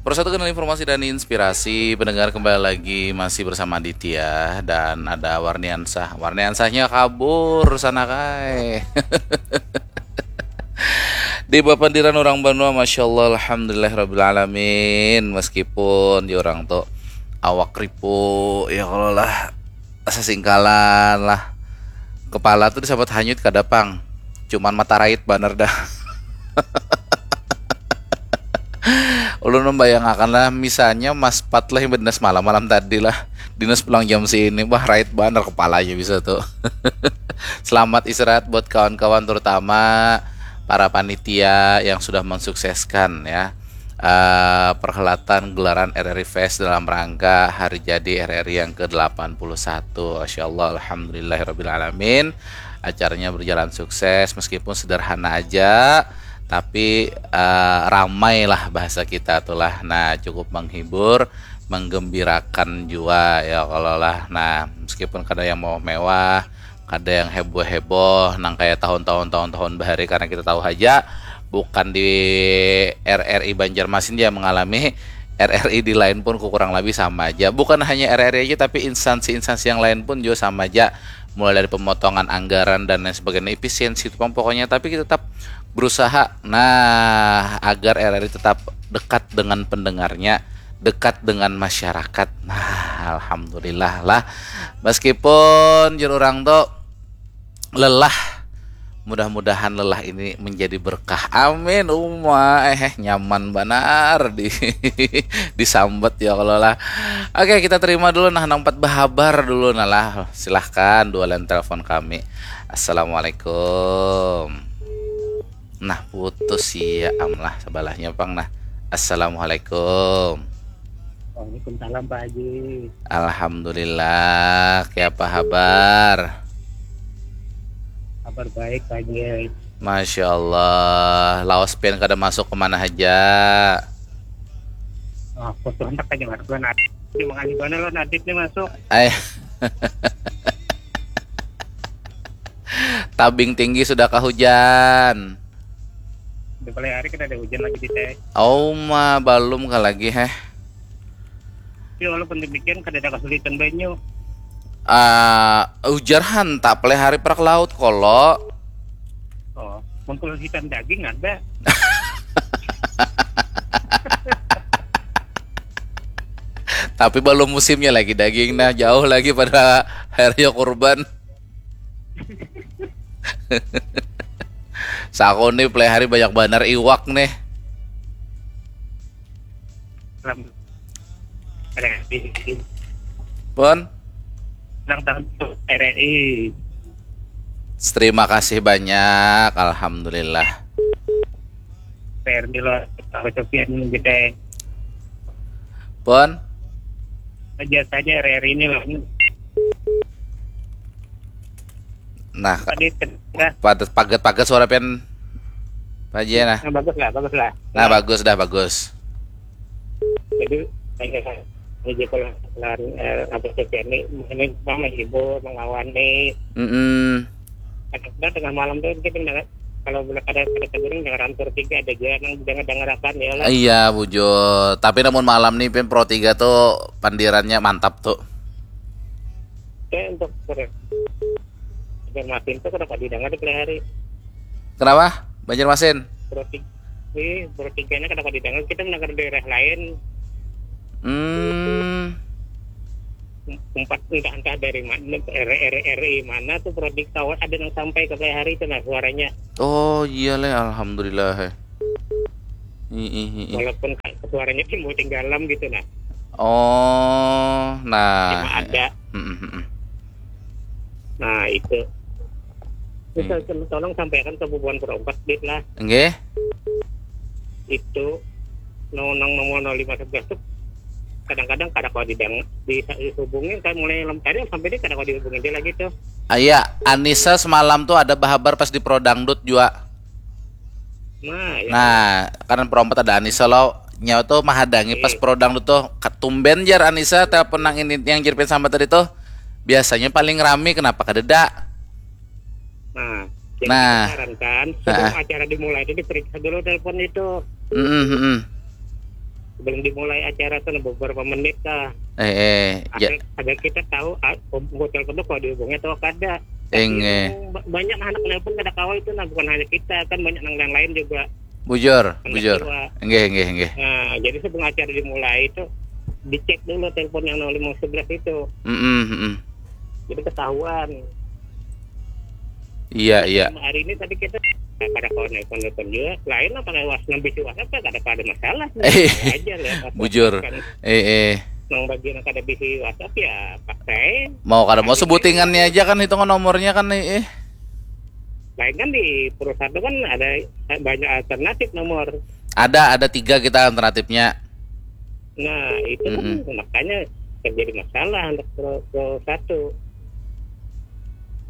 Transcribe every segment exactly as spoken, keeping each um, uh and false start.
Persatu kenal informasi dan inspirasi, pendengar kembali lagi masih bersama Aditya dan ada Warniansah. Warniansahnya kabur sana kai. Di bapandiran orang banua, masya Allah, alhamdulillah rabbil alamin. Meskipun di orang tuh awak ripu, ya kalau lah sasingkalan lah. Kepala tuh disabat hanyut kada pang. Cuman mata rait banar dah. Ulun membayangakan lah, misalnya Mas Pat lah yang berdinas malam-malam tadi lah. Dinas pulang jam sini, bah, rait banar kepalanya bisa tuh. Selamat istirahat buat kawan-kawan, terutama para panitia yang sudah mensukseskan ya, eh, perhelatan gelaran R R I Fest dalam rangka hari jadi R R I yang ke delapan puluh satu. Masya Allah, alhamdulillahirabbil alamin. Acaranya berjalan sukses meskipun sederhana aja, tapi eh, ramai lah bahasa kita tuh lah. Nah, cukup menghibur, menggembirakan jua ya kalau lah. Nah, meskipun kada yang mau mewah, kada yang heboh-heboh nang kayak tahun-tahun, tahun-tahun bahari, karena kita tahu aja bukan di R R I Banjarmasin dia mengalami, R R I di lain pun kurang lebih sama aja. Bukan hanya R R I aja, tapi instansi-instansi yang lain pun juga sama aja. Mulai dari pemotongan anggaran dan lain sebagainya, efisiensi itu pang pokoknya. Tapi kita tetap berusaha, nah, agar R R I tetap dekat dengan pendengarnya, dekat dengan masyarakat. Nah, alhamdulillah lah. Meskipun jur orang tuh lelah, mudah-mudahan lelah ini menjadi berkah. Amin. Uma eh nyaman banar di disambat ya kalau lah. Oke, kita terima dulu nah, nang empat bahabar dulu nah lah. Silahkan dua line telepon kami. Assalamualaikum. Nah, putus ya am lah sebelahnya pang nah. Assalamualaikum. Waalaikumsalam Pak Haji. Alhamdulillah, kayak apa habar? Kabar baik Pak Haji. Masya Allah, lawas pian kada masuk kemana aja? Oh, aku tuh hendak aja masuk lah Nadit. Terima kasih banget lo Nadit nih masuk. Ay. Tabing tinggi sudah kahujan. Di hari kita ada hujan lagi di teh. Oh ma, balum kah lagi heh. Tapi walaupun demikian kada ada kesulitan banyu. Ah, ujar hanta pelihari perak laut kolo. Oh, mengkul hitam daging ada. Tapi belum musimnya lagi daging nah, jauh lagi pada hari kurban. Saku nih pelihari banyak banar iwak nih. Salam. R R I. Pun? Ulang tahun R R I. Terima kasih banyak, alhamdulillah. P R Milo, Pak Sofian gitu. Pun? Aja saja R R I ini loh. Nah, Tadi terdengar. Pagat pagat suara pian Pak Haji nah. Nah, bagus lah, bagus lah. Nah, bagus dah, bagus. Jadi kayak ini kalau lawan eh, apa sih ini ini apa menghibur, mengawani. Mm-mm. Kadang-kadang tengah malam tuh kita dengar, kalau boleh ada ada teguring dengar hampir tiga ada juga yang dengar dengar apa ya lah. Iya, bujur. Tapi namun malam nih pian Pro tiga tuh pandirannya mantap tuh. Kayak untuk ber Banjarmasin tuh kenapa didengar di hari Kenapa? Banjarmasin? Pro tiga ini Pro tiganya kenapa didengar kita mendengar daerah lain Hmm. Empat entah entah dari mana R R R I mana tuh Pro tiga tahu ada yang sampai ke hari itu nah suaranya. Oh iya leh, alhamdulillah. Ih, ih, ih, ih. Walaupun ka- suaranya timbul tinggalam gitu nah. Oh, nah. Cuma ada. Mm, mm, mm. Nah, itu. Bisa tolong sampaikan ke bubuhan perompat dit lah. Nggih. Itu nonang nomor nol lima sebelas tuh kadang-kadang kada kau didang dihubungin kan mulai lem tadi sampai dia kada kau dihubungin dia lagi tuh. Ah, iya, Anissa semalam tuh ada bahabar pas di Pro Dangdut juga. Nah, ya. Nah, kan Pro empat ada Anissa lo. Nyawa tuh mahadangi pas Iya. Pro Dangdut tuh. Ketumben jar Anissa telepon nang ini yang jirpin sama tadi tuh. Biasanya paling rame, kenapa kadeda? Nah, jadi Nah. Saran kan, sebelum acara dimulai itu diperiksa dulu telepon itu. Mm-mm, mm-mm. Sebelum dimulai acara tuh beberapa menit lah. Eh, eh, ya, Agar, agar kita tahu ah, hotel itu kalau dihubungi atau kada. Eng, eh. Yang ba- banyak anak nelpon kada kawa itu, nah, bukan hanya kita, kan banyak yang lain juga. Bujur, Hendak bujur. Juga. Enggih, enggih, enggih. Nah, jadi sebelum acara dimulai itu dicek dulu telepon yang nol lima sebelas itu. Mm-mm, mm-mm. Jadi ketahuan. Iya, iya. Hari ini tadi kita nah, kada kawan nelpon nelpon juga. Lain lah pakai was nambah si WhatsApp ya kada ada masalah. Eh, Aja lah. Bujur. Kan Eh, eh. Nang bagian kada bisi WhatsApp ya pakai. Mau kada mau sebutingannya aja kan, hitungan nomornya kan, eh, eh. Lain kan di Pro satu kan ada banyak alternatif nomor. Ada, ada tiga kita alternatifnya. Nah, itu kan Mm-mm. Makanya terjadi masalah untuk Pro, Pro satu.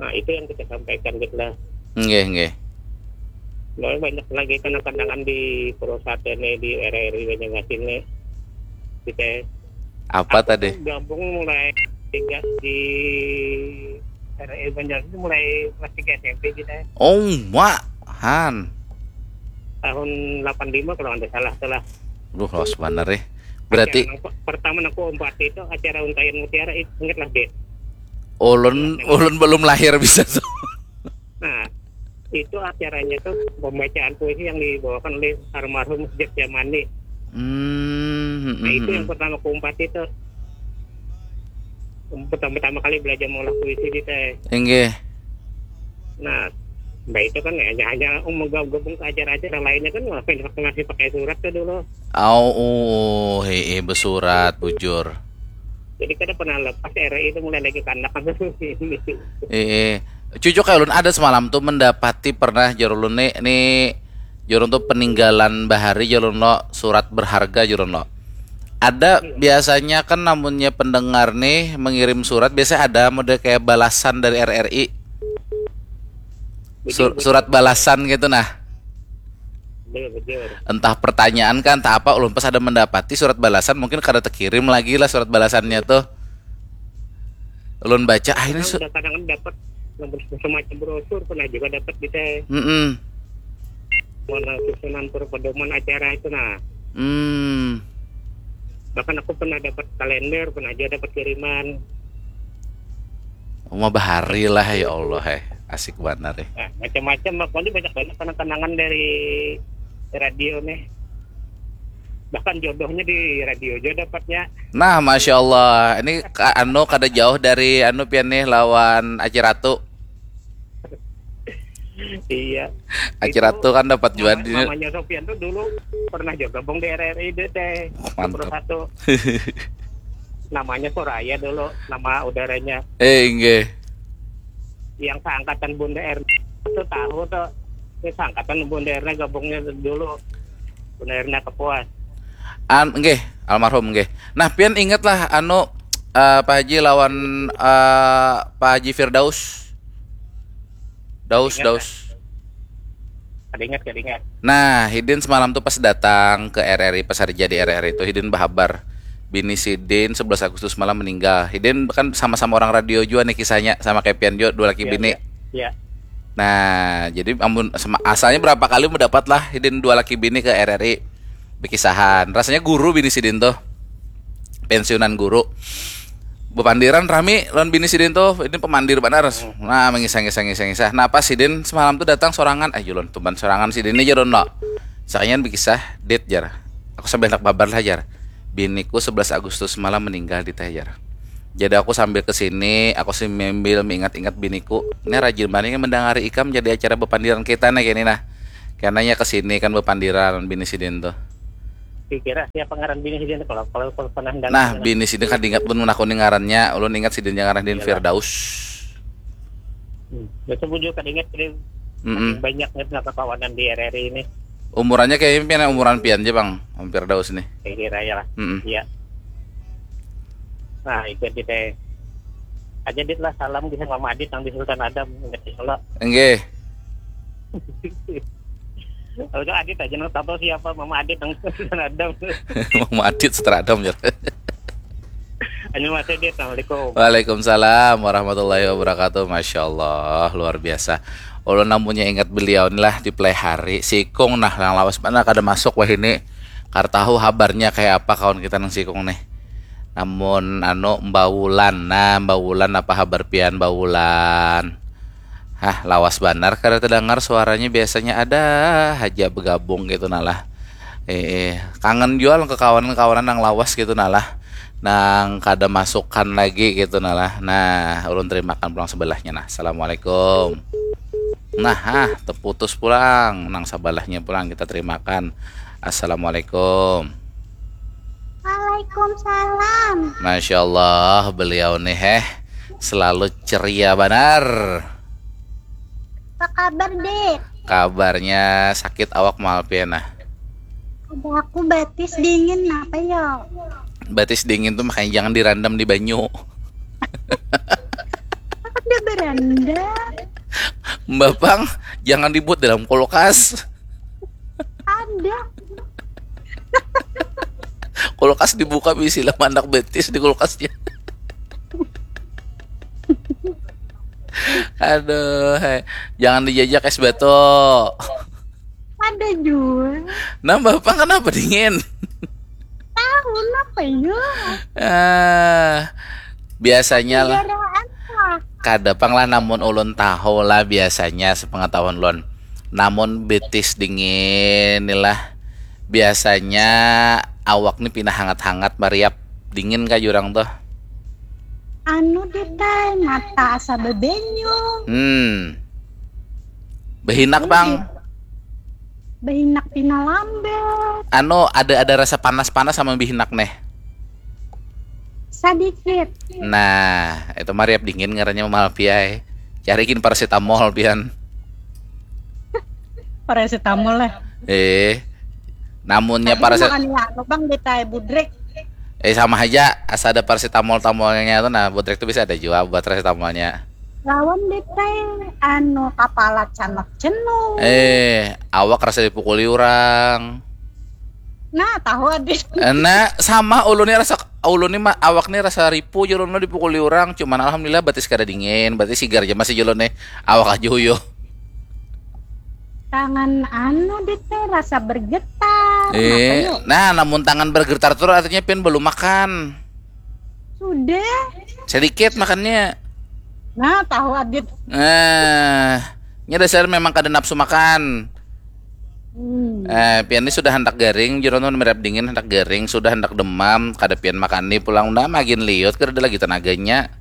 Nah, itu yang kita sampaikan gitu lah. Enggih, enggih. Mulai banyak lagi kenang-kenangan di Pro satu ini, di R R I Banjarmasin ini. Kita Apa tadi? Gabung mulai tiga di R R I Banjarmasin itu mulai kelas tiga S M P kita. Oh, mak, han. Tahun delapan lima kalau nggak salah tuh lah. Duh, los banar, eh. Berarti Acara nang pe- pertama aku empat itu acara Untayan Mutiara itu inget lah, Dit. ulun, ulun belum lahir bisa tuh. Nah, itu acaranya tuh pembacaan puisi yang dibawakan oleh almarhum Jack Yamani. Hmm, Nah, itu hmm, yang pertama aku empat itu. Pertama-tama kali belajar mengolah puisi di teh. Enggih. Nah, mbak itu kan hanya hanya oh, menggabung ke acara-acara lainnya kan ngapain waktu masih pakai surat tuh dulu. Au, uh, hei, besurat, bujur. Jadi kada pernah lepas R I itu mulai lagi kanak kan ini. Eh, cucuk kayak ulun ada semalam tuh mendapati pernah jar ulun nih, nih jar ulun tuh peninggalan bahari jar ulun lo, surat berharga jar ulun lo. Ada biasanya kan namunnya pendengar nih mengirim surat biasa ada mode kayak balasan dari R R I. Sur- surat balasan gitu nah. Betul, betul. Entah pertanyaan kan, entah apa, ulun pas ada mendapati surat balasan mungkin kada terkirim lagi lah surat balasannya tuh. Ulun baca ah ini Nah, su- udah kadang dapat nomor semacam brosur pernah juga dapat di teh Mm-mm. mana susunan per- pedoman acara itu nah. Hmm. Bahkan aku pernah dapat kalender, pernah juga dapat kiriman. Uma bahari lah ya Allah eh. Asik banar eh. Nah, macam-macam pokoknya banyak banyak kenang-kenangan dari radio nih. Bahkan jodohnya di radio juga dapatnya. Nah, masya Allah, ini ka- anu kada jauh dari anu pian nih lawan Aci Ratu. Iya. Aci Ratu kan dapat juga di Mamanya Sofian tuh dulu pernah juga gabung di R R I deh teh. Mantap. Satu. Namanya Soraya dulu, nama udaranya. Eh, inggih. Yang seangkatan Bunda Erna tuh tahu tuh. Ini seangkatan Bunda Erna gabungnya dulu. Bunda Erna Kepuas. An, nggih, almarhum nggih. Nah, pian inget lah anu eh, Pak Haji lawan eh, Pak Haji Firdaus. Daus, Ingat, Daus. Kada ingat, kada ingat. Nah, Hidin semalam tuh pas datang ke R R I, pas hari jadi R R I itu Hidin bahabar bini Sidin sebelas Agustus malam meninggal. Hidin kan sama-sama orang radio juga nih kisahnya, sama kayak pian juga, dua laki Iya, bini. Iya. Iya. Nah, jadi amun sama, asalnya berapa kali mendapat lah Hidin dua laki bini ke R R I berkisahan. Rasanya guru bini Sidin tuh. Pensiunan guru. Bepandiran rami lawan bini Sidin tuh. Ini pemandir banar. Nah, mengisah-ngisah ngisah-ngisah. Nah, pas Sidin semalam tuh datang sorangan. Ayo lon tumban sorangan Sidin ini jar lo. Sakalian berkisah, "Dit," jar. Aku sambil hendak babar lah jar. "Biniku sebelas Agustus malam meninggal di teh," jar. Jadi aku sambil ke sini, aku sih membil mengingat-ingat biniku. Ini rajin banget nih mendengari ikam jadi acara bepandiran kita nih kini nah. Karena ya ke sini kan bepandiran bini Sidin tuh. Kira siapa ngaran bini Sidin kalau kalau kalau pernah dengar. Nah, bini Sidin kada ingat pun menakuni ngarannya, ulun ingat Sidin yang ngaran Sidin Iyalah. Firdaus. Hmm. Biasa bujur kada ingat jadi Mm-mm. Banyak nih kekawanan di R R I ini. Umurannya kayaknya pian umuran pian aja bang, hampir Daus nih. Saya kira ya lah. Mm-mm. Iya. Nah, itu di teh. Aja dit lah salam kisah Mama Adit yang di Sultan Adam ingat di Solo. Enggih. Kalau Adit aja nang tahu siapa Mama Adit yang di Sultan Adam. Mama Adit Sutradam ya. Hanya Mas Adit, assalamualaikum. Waalaikumsalam warahmatullahi wabarakatuh. Masya Allah, luar biasa. Ulun namunnya ingat beliau inilah di Play Hari. Sikung nah, yang lawas mana kada masuk wah ini. Kada tahu habarnya kayak apa kawan kita nang sikung nih. Namun anu, Mbak Wulan, nah, Mbak Wulan, apa habar pian, Mbak Wulan? Hah, lawas banar kada terdengar suaranya, biasanya ada haja begabung gitu nah lah. Eh, kangen jua ke kawanan-kawanan nang lawas gitu nah lah, nang kada masukan lagi gitu nah lah. Nah, ulun terimakan pulang sebelahnya nah. Assalamualaikum. Nah, ah, terputus pulang. Nang sabalahnya pulang kita terimakan. Assalamualaikum. Waalaikumsalam. Masya Allah, beliau nih, heh, selalu ceria banar. Apa kabar, Dek? Kabarnya sakit awak, maaf ya nah. Ada aku batis dingin, apa ya? Batis dingin tuh makanya jangan dirandam di banyu. Ada beranda. Mbak Pang, jangan dibuat dalam kulkas. Ada. Kulkas dibuka, bisi lah mandak betis di kulkasnya. Aduh, hei. Jangan dijajak es batu. Ada juga. Nah, Mbak Pang kenapa dingin? Tahu apa ya? Ah, biasanya lah. Garaan lah. Kada pang lah, namun ulun tahu lah biasanya sepengetahuan ulun. Namun betis dingin ni lah biasanya awak ni pina hangat-hangat mariap dingin kah jurang tuh. Anu, Dek ai, mata asa bebenyu. Hmm. Behinak, Bang. Behinak pina lambat. Anu, ada ada rasa panas-panas sama behinak neh. Sedikit. Nah, itu mariap dingin ngarannya, Malpi ai. Carikin paracetamol pian. Paracetamol lah. Eh, namunnya paracetamol. Makan ya, anu, Bang, Dek ai, budrek. Eh, sama aja, asa ada paracetamol-tamolnya tuh. Nah, budrek tuh bisa ada juga buat paracetamolnya. Lawan, Dek ai, anu, kepala canak jenuh. Eh, awak rasa dipukuli orang. Nah, tahu, Adit. Eh, nah, sama ulun ni rasa, ulun ni ma- awak ni rasa ripuh, ulun ni dipukuli orang, cuman alhamdulillah batis kada dingin, batis sigar aja masih ulun nih. Awak aja huyo. Tangan anu, Dek ai, rasa bergetar. Eh, Apa yuk? Nah, namun tangan bergetar tuh artinya pian belum makan. Sudah. Sedikit makannya. Nah, tahu, Adit. Nah, nya dasar memang kada nafsu makan. Hmm. Eh, pian ni sudah handak garing, jurang tuh mariap dingin, handak garing, sudah handak demam, kada pian makan ni pulang, nah, magin liut, kada ada lagi tenaganya.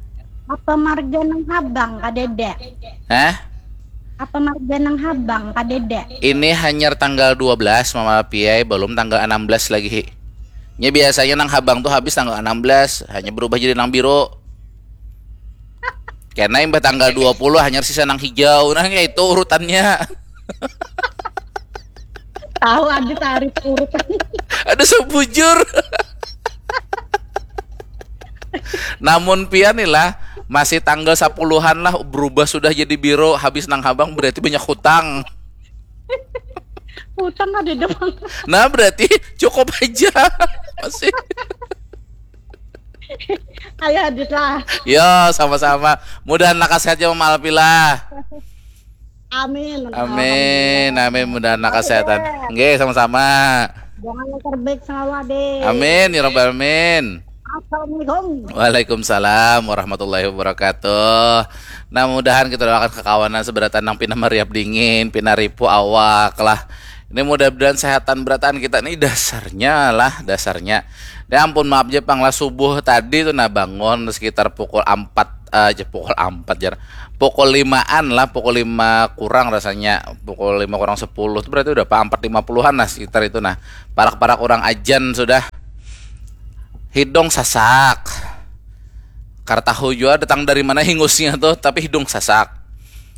Apa marga nang habang, kadada? Hah? Apa marga nang habang, kadada? Ini hanyar tanggal dua belas, Mama Piai, belum tanggal enam belas lagi. Nya biasanya nang habang tuh habis tanggal enam belas, hanya berubah jadi nang biru. Karena imbah tanggal dua puluh hanyar sisa nang hijau. Nah, kayak itu urutannya. Tahu, Adit, tarik urutan. Ada sebujur. Namun pian nih lah, masih tanggal sepuluhan lah, berubah sudah jadi biru, habis nang habang, berarti banyak hutang. Hutang ada dong. Nah, berarti cukup aja. Masih. Ayo, Adit lah. Yo, sama-sama. Mudahan lakas sehat ya, Mama Alpi lah. Amin. Amin, amin. Mudahan lakas kesehatan. Nggih, sama-sama. Jangan terbaik selalu, Adit. Amin ya rabbal alamin. Assalamualaikum. Waalaikumsalam warahmatullahi wabarakatuh. Nah, mudahan kita doakan kekawanan seberatan nang pina mariap dingin, pina ripuh awak lah. Ini mudah-mudahan sehatan berataan kita nih dasarnya lah, dasarnya. Ya ampun, maaf aja pang lah, subuh tadi tuh nah bangun sekitar pukul empat aja, pukul empat jar. Pukul limaan lah, pukul lima kurang rasanya. Pukul lima kurang sepuluh tuh berarti udah apa, empat lima puluhan lah sekitar itu nah. Parak-parak orang ajan sudah. Hidung sasak. Kada tahu jua datang dari mana hingusnya tuh, tapi hidung sasak.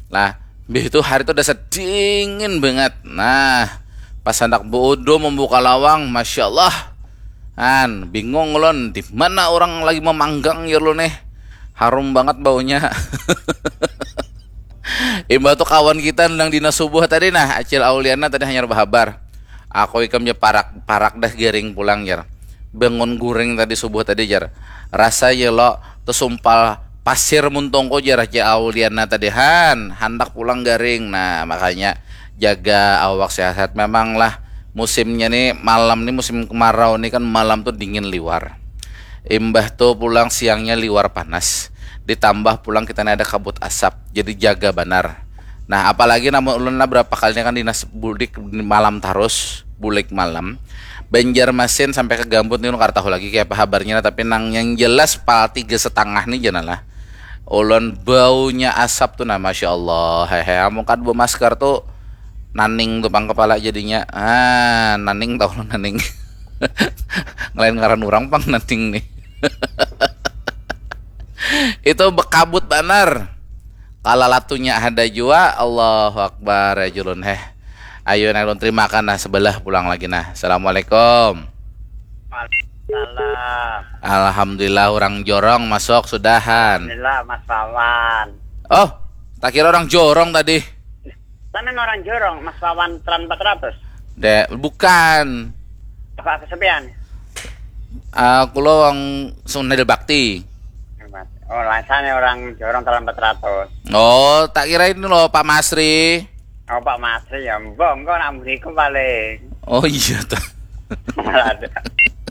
Nah, habis itu hari tuh dasar dingin banget. Nah, pas handak buudu membuka lawang, Masya Allah. An, bingung ulun, di mana orang lagi memanggang ya lu nih. Harum banget baunya. Imbah tuh kawan kita nang dina subuh tadi nah, Acil Auliana tadi hanyar bahabar. Aku ikam ja parak, parak dah garing pulang jar. Bangun guring tadi subuh tadi jar. Rasa ya lo tesumpal pasir muntungku jar Acil Auliana tadi, han, handak pulang garing. Nah, makanya jaga awak sehat-sehat memang lah. Musimnya nih, malam nih, musim kemarau nih kan, malam tuh dingin liwar. Imbah tuh pulang siangnya liwar panas. Ditambah pulang kita nih ada kabut asap. Jadi jaga banar. Nah, apalagi namun ulun lah berapa kali nih kan dinas bulik malam tarus, bulik malam. Banjarmasin sampai ke Gambut nih ulun kada tahu lagi kayak apa habarnya, tapi nang yang jelas pal tiga setengah nih jana lah. Ulun baunya asap tuh nah, masya Allah. Hehe, amun kada bemasker tuh naning tuh pang kepala jadinya. Ah, naning tahu lo naning. Ngelain ngaran orang pang naning nih. Itu bekabut banar. Kalalatunya ada jua. Allahu Akbar ya julun heh. Ayo nah ulun terimakan nah sebelah pulang lagi nah. Assalamualaikum. Salam. Alhamdulillah orang jorong masuk sudahan. Alhamdulillah Mas Wawan. Oh, tak kira orang jorong tadi. Sampean orang jorong Mas Wawan tran empat ratus. Dek, bukan. Apa kesepian? Aku lo orang Sungai Bakti. Oh, rasanya orang jorong tran empat ratus. Oh, tak kira ini loh Pak Masri. Oh, Pak Masri ya, mbok engko nak beriku paling. Oh iya tuh. Ada.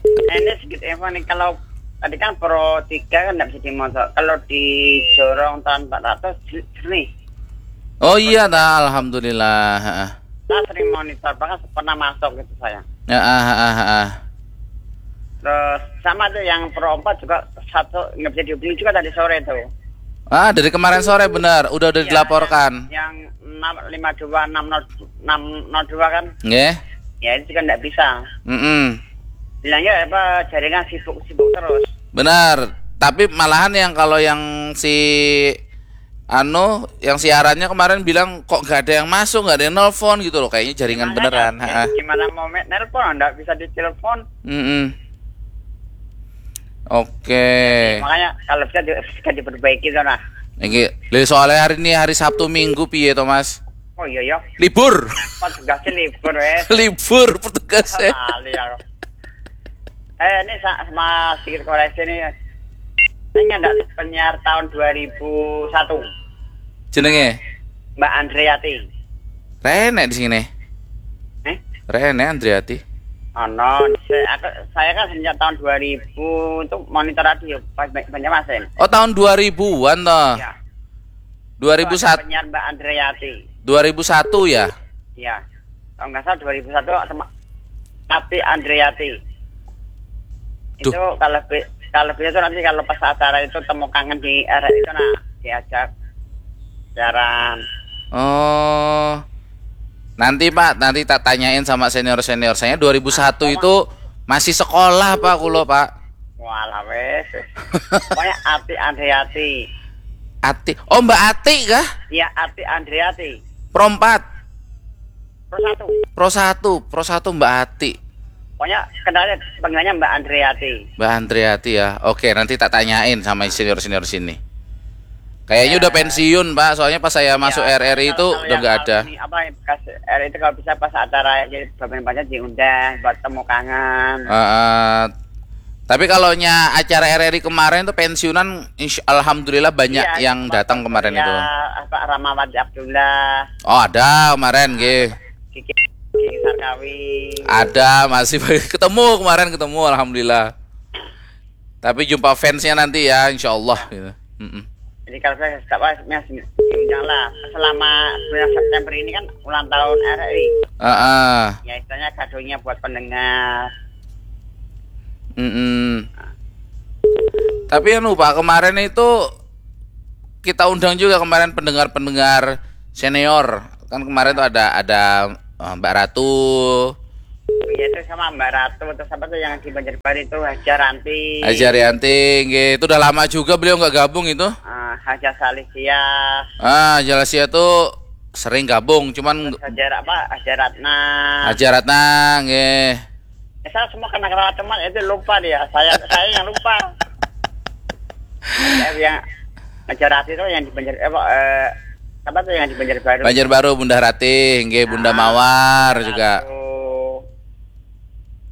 Ini sedikit info nih, kalau tadi kan Pro tiga kan nggak bisa dimonitor. Kalau di jorong tahun empat ratus jernih. Oh iya dah, alhamdulillah. Heeh. Saya sering monitor, bahkan pernah masuk gitu saya. Ya, ah, ah, ah. Terus sama tuh yang Pro empat juga satu nggak bisa dihubungi juga tadi sore tuh. Ah, dari kemarin sore benar, udah udah Iya, dilaporkan. Yang enam lima dua enam nol enam nol dua kan? Nggih. Ya itu juga nggak bisa. Mm-mm. Bilangnya apa jaringan sibuk-sibuk terus. Benar. Tapi malahan yang kalau yang si anu, yang siarannya kemarin bilang kok nggak ada yang masuk, nggak ada yang nelpon gitu loh. Kayaknya jaringan beneran. Gimana, Heeh. Gimana mau me- nelpon nggak bisa ditelepon. Mm-mm. Oke. Makanya kalau bisa di, bisa diperbaiki tuh nah. Ini, soalnya hari ini hari Sabtu Minggu piye to, Mas? Oh iya ya, Libur. pas tugasnya libur eh. Libur petugas ya. Kali ya. Eh ini sa- sama sedikit koreksi nih. Ini ada penyiar tahun dua ribu satu, Jenenge Mbak Andreati. Rene di sini. Eh? Rene Andriati. Oh no, saya, aku, saya kan sejak tahun dua ribu itu monitor radio pas Ba- Banjarmasin. Oh, tahun dua ribuan toh. Ya. 2001 Penyiar Mbak Andreati. 2001 ya? Ya. Kalau nggak salah dua ribu satu sama Tapi Andreati. Duh. Itu kalau be- kalau beliau tuh nanti kalau pas acara itu temu kangen di R R I itu nah diajak siaran. Oh. Nanti Pak, nanti tak tanyain sama senior-senior saya. Dua ribu satu itu masih sekolah Pak kulo Pak. Walah wes. Pokoknya Ati Andreati. Ati. Oh, Mbak Ati kah? Iya, Ati Andreati. Pro empat. Pro satu. Pro satu, Pro satu Mbak Ati. Pokoknya kenalnya panggilannya Mbak Andreati. Mbak Andreati ya. Oke, nanti tak tanyain sama senior-senior sini. Kayaknya udah pensiun, Pak. Soalnya pas saya masuk Ya, R R I itu kalau udah yang nggak ada. Alumni apa yang bekas R R I itu kalau bisa pas acara jadi pemain banyak diundang buat temu kangen. Heeh. Tapi kalau nya acara R R I kemarin tuh pensiunan, insya, alhamdulillah banyak Iya, yang tempat datang kemarin ya, itu. Apa Ramawati Abdullah, Oh, ada kemarin, nggih. Kiki, Kiki Sarkawi. Ada, masih ketemu kemarin, ketemu, alhamdulillah. Tapi jumpa fansnya nanti ya, insya Allah gitu. Mm-mm. Jadi kalau saya tak apa, ya, diundang lah. Selama bulan September ini kan ulang tahun R R I. Heeh. Ya istilahnya kadonya buat pendengar. Mm-mm. Tapi anu Pak, kemarin itu kita undang juga kemarin pendengar-pendengar senior. Kan kemarin tuh ada ada eh, Mbak Ratu, Iya itu sama Mbak Ratu, terus apa tuh yang di Banjarbaru itu, Haja Ranti. Haja Rianti, nggih. Itu udah lama juga beliau nggak gabung itu. Ah, Haja Salisia. Ah, Haja Salisia tuh sering gabung, cuman Haja apa? Haja Ratna. Haja Ratna, nggih. Ya, saya semua kenal-kenal teman itu lupa dia. Saya saya yang lupa. Saya yang Haja Rati itu yang di Banjar eh, apa, eh, apa tuh yang di Banjarbaru? Banjarbaru, Bunda Rati, nggih, Bunda Ah, Mawar Bunda juga. Ratu.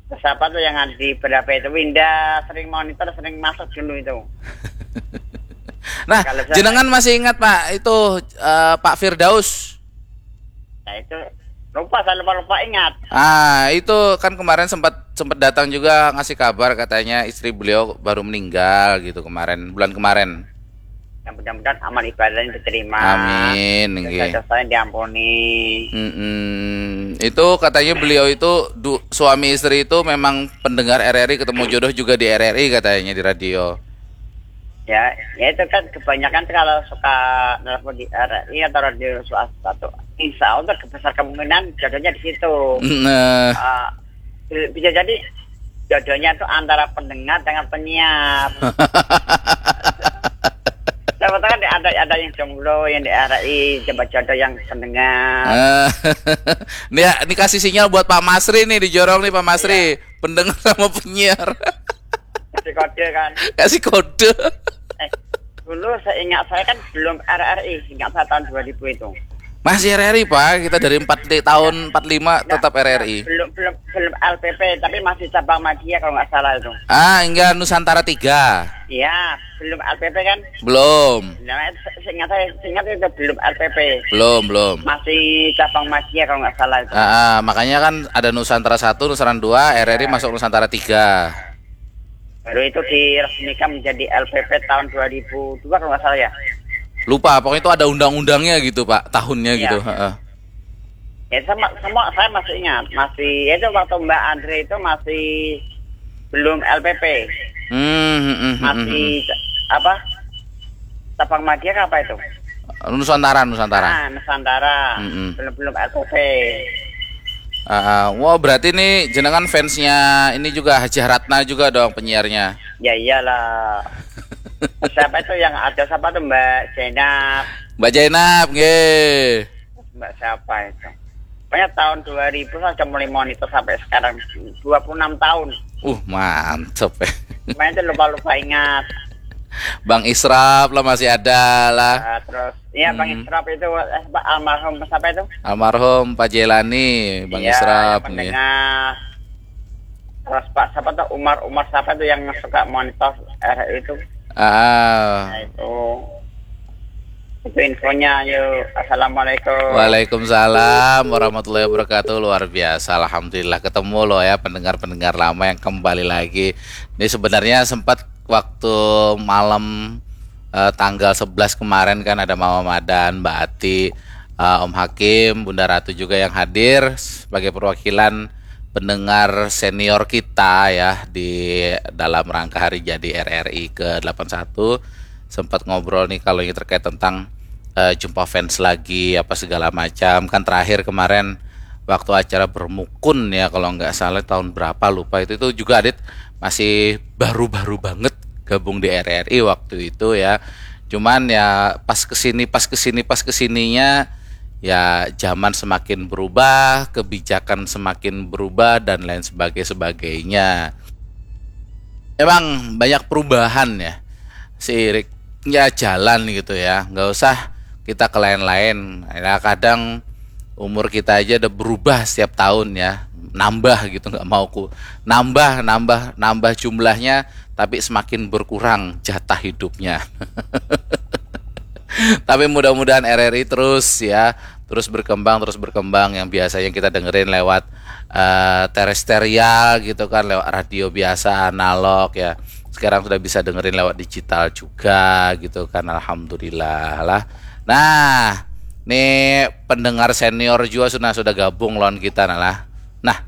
Terus apa tuh yang di berapa itu, Winda, sering monitor, sering masuk dulu itu. Nah, Kalau saya- jenengan masih ingat Pak itu eh, Pak Firdaus? Nah itu Lupa, saya lupa-lupa ingat. Ah, itu kan kemarin sempat sempat datang juga ngasih kabar, katanya istri beliau baru meninggal gitu kemarin, bulan kemarin. Ya, mudah-mudahan amal ibadahnya diterima. Amin, nggih. Dosa-dosanya diampuni. Mm-mm. Itu katanya beliau itu du- suami istri itu memang pendengar R R I, ketemu jodoh juga di R R I katanya di radio. Ya, ya itu kan kebanyakan tuh kalau suka nelpon di R R I atau radio swasta tuh, insya Allah besar kemungkinan jodohnya di situ. Nah, Ah, bisa jadi jodohnya tuh antara pendengar dengan penyiar. Siapa tahu kan ada ada yang jomblo yang di R R I, coba jodoh yang pendengar. eh, ini ya, ini kasih sinyal buat Pak Masri nih, di Jorong nih Pak Masri. Pendengar sama penyiar. Kasih kode kan. Kasih kode. Eh, dulu seingat saya kan belum R R I, ingat saya tahun dua ribu itu. Masih R R I, Pak. Kita dari empat tahun empat lima tetap R R I. Belum belum belum L P P, tapi masih cabang media kalau nggak salah itu. Ah, enggak, Nusantara tiga. Iya, belum L P P kan? Belum. Nah, seingat saya, seingat itu belum L P P. Belum, belum. Masih cabang media kalau nggak salah itu. Ah, ah, makanya kan ada Nusantara satu, Nusantara dua, R R I masuk Nusantara tiga. Baru itu diresmikan menjadi L P P tahun dua ribu dua kalau nggak salah ya. Lupa, pokoknya itu ada undang-undangnya gitu, Pak, tahunnya Iya. Gitu. Heeh. Ya sama semua saya masih ingat, masih ya itu waktu Mbak Andre itu masih belum L P P, Hmm, hmm, hmm, hmm, masih apa? Cabang media apa itu? hmm. Nusantara, Nusantara. Ah, Nusantara. Mm-mm. Belum belum L P P. Ah, ah. Wah, berarti nih jenengan fansnya ini juga, Hajah Ratna juga dong penyiarnya. Ya iyalah. Siapa itu yang ada siapa tuh, Mbak Zainab? Mbak Zainab, nggih. Mbak siapa itu? Pokoknya tahun dua ribu saya sudah mulai monitor sampai sekarang, dua puluh enam tahun. Uh, mantep ya. Main itu lupa-lupa ingat. Bang Israf lah masih ada lah. Ah, terus iya Bang Hmm. Israf itu, eh, Pak, almarhum siapa itu? Almarhum Pak Jelani, Bang Iya, Israf yang nggih. mendengar. Terus Pak siapa tuh, Umar Umar siapa tuh yang suka monitor R R I itu? Ah. Nah, itu itu infonya. Yuk, assalamualaikum. Waalaikumsalam warahmatullahi wabarakatuh. Luar biasa, alhamdulillah ketemu loh ya, pendengar-pendengar lama yang kembali lagi. Ini sebenarnya sempat waktu malam eh, tanggal sebelas kemarin kan ada Mama Madan, Mbak Ati, eh, Om Hakim, Bunda Ratu juga yang hadir sebagai perwakilan pendengar senior kita ya di dalam rangka hari jadi R R I ke delapan satu. Sempat ngobrol nih kalau ini terkait tentang eh, jumpa fans lagi apa segala macam. Kan terakhir kemarin waktu acara Bermukun ya, kalau nggak salah tahun berapa lupa itu, itu juga Adit masih baru-baru banget gabung di R R I waktu itu ya. Cuman ya pas kesini, pas kesini, pas kesininya ya zaman semakin berubah, kebijakan semakin berubah dan lain sebagainya, sebagainya. Emang banyak perubahan ya, seiring ya jalan gitu ya, nggak usah kita ke lain-lain. Ya, kadang umur kita aja udah berubah setiap tahun ya, nambah gitu, nggak mau ku nambah, nambah, nambah jumlahnya, tapi semakin berkurang jatah hidupnya. Tapi mudah-mudahan R R I terus ya, terus berkembang, terus berkembang. Yang biasanya kita dengerin lewat eh, terestrial gitu kan, lewat radio biasa, analog ya. Sekarang sudah bisa dengerin lewat digital juga gitu kan, alhamdulillah lah. Nah, nih pendengar senior juga sudah sudah gabung lawan kita nah lah. Nah,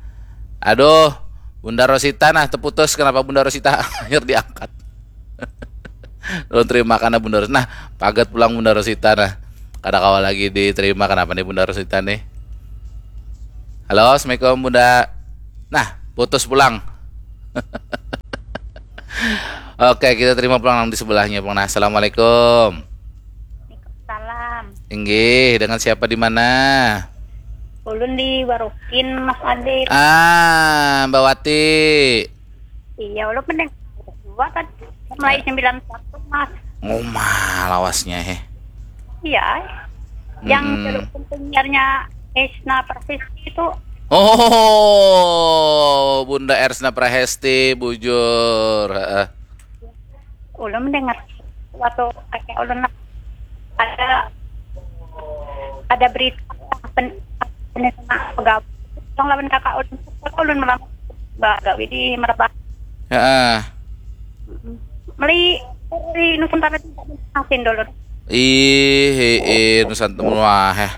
aduh, Bunda Rosita nah terputus. Kenapa Bunda Rosita akhir diangkat? Ulun terima karena Bunda Rosita. Nah, pagat pulang Bunda Rosita nah. Kada kawa lagi diterima, kenapa nih Bunda Rosita nih? Halo, assalamualaikum Bunda. Nah, putus pulang. Oke, kita terima pulang nang di sebelahnya pulang. Nah, assalamualaikum. Salam. Inggih, dengan siapa di mana? Ulun di Warukin, Mas Adit. Ah, Mbak Wati. Iya, ulun mending dua kan. Mulai sembilan satu, Mas. Ngomah lawasnya he. Iya. Yang Mm-mm. Dulu penyiarnya Esna Prasesti itu. Oh, Bunda Ersna Prahesti, bujur. Heeh. Ulun mendengar waktu kakek ulun ada ada berita pen, Bener sama gabung lawan kakak ulun. Kakak ulun melamar bagawi di Merbah. Heeh. Meli di Nusantara tu masin dulu. Ih, ih, Nusantara, wah, eh.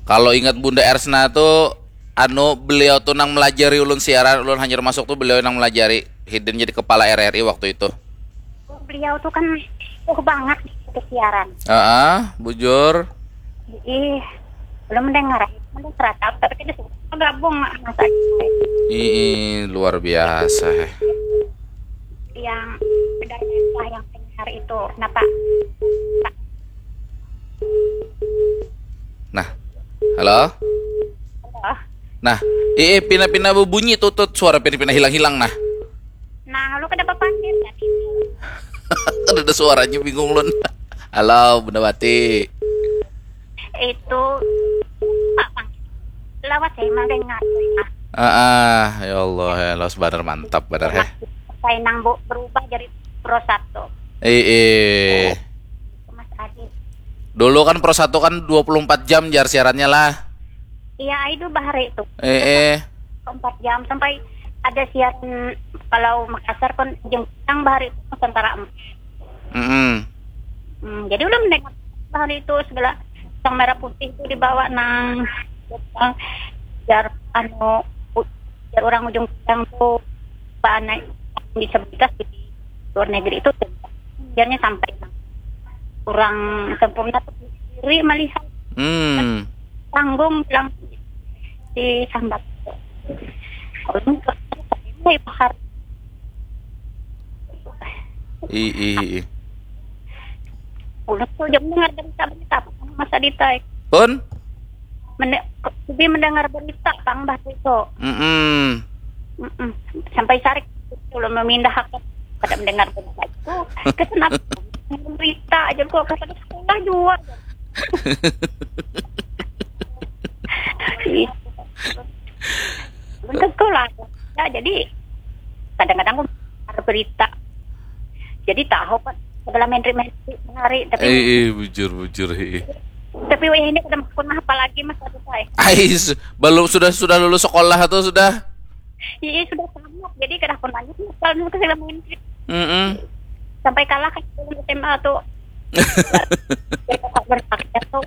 Kalau ingat Bunda Ersna tuh, anu, beliau tuh nang melajari ulun siaran, ulun hanyar masuk tuh beliau nang melajari. Hidin jadi kepala R R I waktu itu. Beliau tuh kan uh banget di siaran. Heeh, bujur. Ih, belum mendengar, mendengar rata, tapi kita suka gabung masa Ih, luar biasa, eh. Yang benar yang dengar itu kenapa? Nah, halo? Oh, Nah, ih, pina-pina bebunyi tutut, suara pina-pina hilang-hilang, nah. Nah, lu kenapa panggil tadi? Kan ada suaranya, bingung lun. Halo, Bunda Wati. Itu Pak Bang. Lewat saya mendengar. Ah, ah, ya Allah, ya Allah, benar, mantap benar, heh. Saya nang bu berubah jadi Pro Satu. Eh, eh. Mas Adi. Dulu kan Pro Satu kan dua puluh empat jam jar siarannya lah. Iya, itu bahari itu. Eh, eh. Empat jam sampai ada siaran kalau Makassar kan jengkang bahari itu Nusantara empat. Mm-mm. Hmm, jadi udah mendengar bahari itu segala sang merah putih itu dibawa nang jar anu u- jar orang ujung pedang tuh apa naik disabilitas di luar negeri itu jarnya sampai nang kurang sempurna tuh diri melihat Hmm. tanggung bilang disambat. Ulun ke mulai bahar I, i, i. Ulun tuh jam dengar berita berita Mas Adita. Pun? Mende, lebih mendengar berita pang bah itu. Mm-mm. Mm-mm. Sampai sarik ulun memindah ke kada mendengar berita itu. Kesenap berita aja kok kada sekolah juga. Ih. Belum ke sekolah. Ya, jadi kadang-kadang aku ada berita. Jadi tahu kan segala menteri-menteri hari tapi Eh, eh, bujur, bujur, eh. tapi wayah ini kada pernah apa lagi Mas Adita. Ais, belum sudah sudah lulus sekolah atau sudah? Iya sudah tamat jadi kada pernah lagi kalau ke segala menteri Mm-mm. sampai kalah kan S M A tuh berpakaian tuh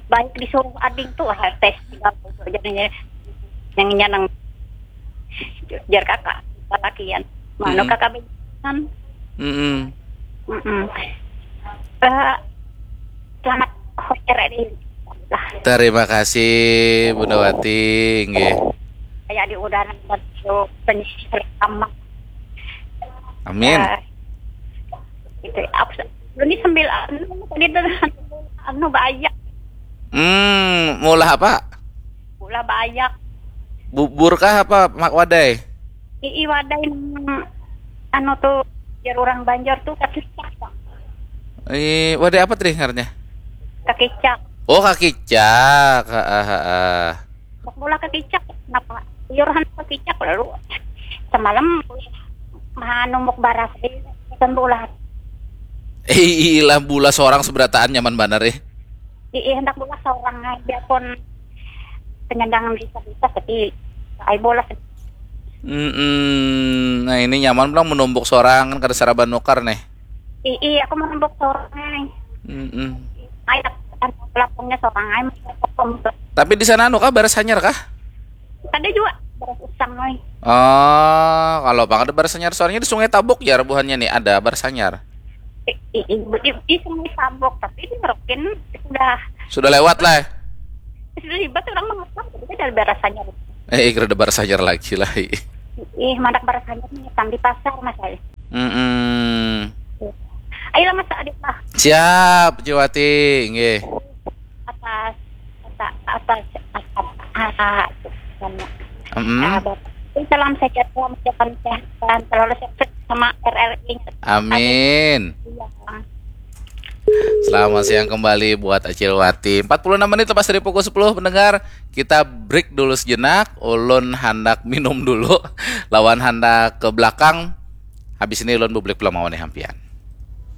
baik disuruh ading tuh ah, tes jadinya yang nyanang jar kakak lalakian mana Mm-mm. kakak bejalan Mm-mm. Mm-mm. Eh, selamat hoker di lah Terima kasih Bunda Wati, nggih. Kayak di udara satu penyisir sama Amin. Eh, itu apa sih? Ini sambil anu tadi tuh anu banyak Hmm, maulah apa? Pula banyak Bubur kah apa mak wadai? Ii wadai nang anu tuh jar orang Banjar tuh kakicak Bang. Eh, wadai apa tadi ngarannya? Kakicak. Oh, kakicak. Heeh, heeh. Bak bola kakicak kenapa? Iuran kakicak lalu semalam manumbuk baras di kan bola. Eh, ilah bula seorang seberataan nyaman banar eh. Ii hendak bola seorang aja pun penyandang disabilitas tapi ai bola Mm-mm. Nah, ini nyaman pulang menumbuk seorang kan kada saraban nukar nih. Ii aku menumbuk seorang ai. Mm-mm. Ai lapangnya seorang ai. Tapi di sana anu kah, baras hanyar kah? Kada juga baras usang ai. Oh, kalau bang ada baras hanyar soalnya di Sungai Tabuk ya rebuhannya nih ada baras hanyar. Ii di sungai Sabuk tapi di Merauke sudah Sudah lewat lah. Sudah libat orang mengatakan jadi dari baras hanyar. Eh, kira ada baras hanyar lagi lah. Ih, mandak baras hanyar nih di pasar mas ai. Mm-mm. Ayolah mas Adit lah Siap, Ciwati, nggih. Atas atas atas atas ah, Mm. ah, Bapak. Salam sehat, salam sehat, salam sehat, selalu sehat sama R R I. Amin. Iya. Selamat siang kembali buat Acil Wati. Empat puluh enam menit lepas dari pukul sepuluh, pendengar. Kita break dulu sejenak. Ulun handak minum dulu. Lawan handak ke belakang. Habis ini ulun bublik pulang mawan hampian.